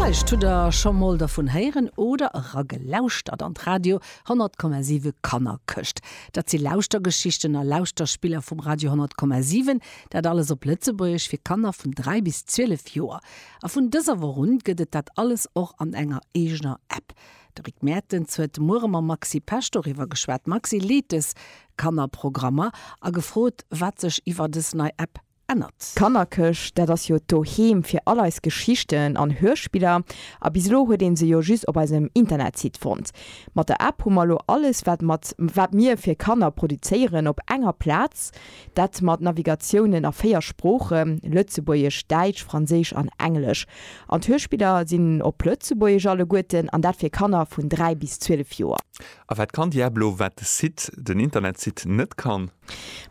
Vläicht hutt der scho mol dervun héieren oder eragelauschtert an d'Radio 100,7 Kannerkëscht. Dat si Lauschtergeschichten a Lauschterspiller vum Radio 100,7, dat alles op Lëtzebuergesch fir Kanner vun 3 bis 12 Joer. A vun dëser Woch un gëtt et dat alles och an enger eegener App. De Rick Mertens huet de Muere mam Maxi Pesch doriwwer geschwat. D'Maxi leet dës Kannerprogrammer a gefrot, wat sech iwwer dës nei App ännert. D'Kannerkëscht, dat ass jo d'Doheem fir all eis Geschichten an Hörspiller. A bis elo huet een se jo just op eisem Internetsite fonnt. Mat der App hu mer elo alles, wat mat wat mir fir Kanner produzéieren, op enger Plaz. Dat mat Navigatiounen a 4 Sproochen, Lëtzebuergesch, Däitsch, Franséisch an Englesch. An d'Hörspiller sinn op Lëtzebuergesch alleguerten, an dat fir Kanner vun 3 bis 12 Joer. A wat kann déi App elo, wat de Site, den Internetsite net kann?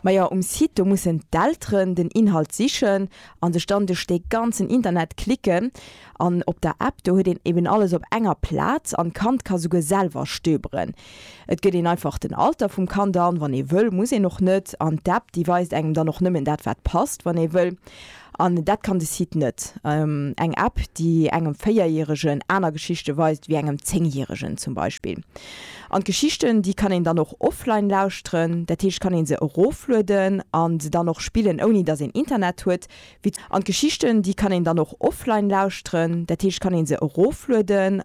Majo, um Site, do mussen d'Elteren den Inhalt sichen a sech dann duerch dee ganzen Internet klicken. An op der App, do huet een eben alles op enger Plaz an d'Kand ka souguer selwer stöberen. Et gëtt een einfach den Alter vum Kand an, wann ee wëll, muss een och net. An d'App, déi weist engem dann och nëmmen dat, wat passt, wann ee wëll. An dat kann de Site net. Eng App, déi engem Véierjäregen aner Geschichte weist wéi engem Zéngjäregen zum Beispill. An d'Geschichten, déi kann een dann och offline lauschteren. Dat heescht, kann ee se eroflueden a se dann och spillen, ouni datt een Internet huet. Wéi. An d'Geschichten, déi kann een dann och offline lauschteren. Dat heescht, kann ee se eroflueden.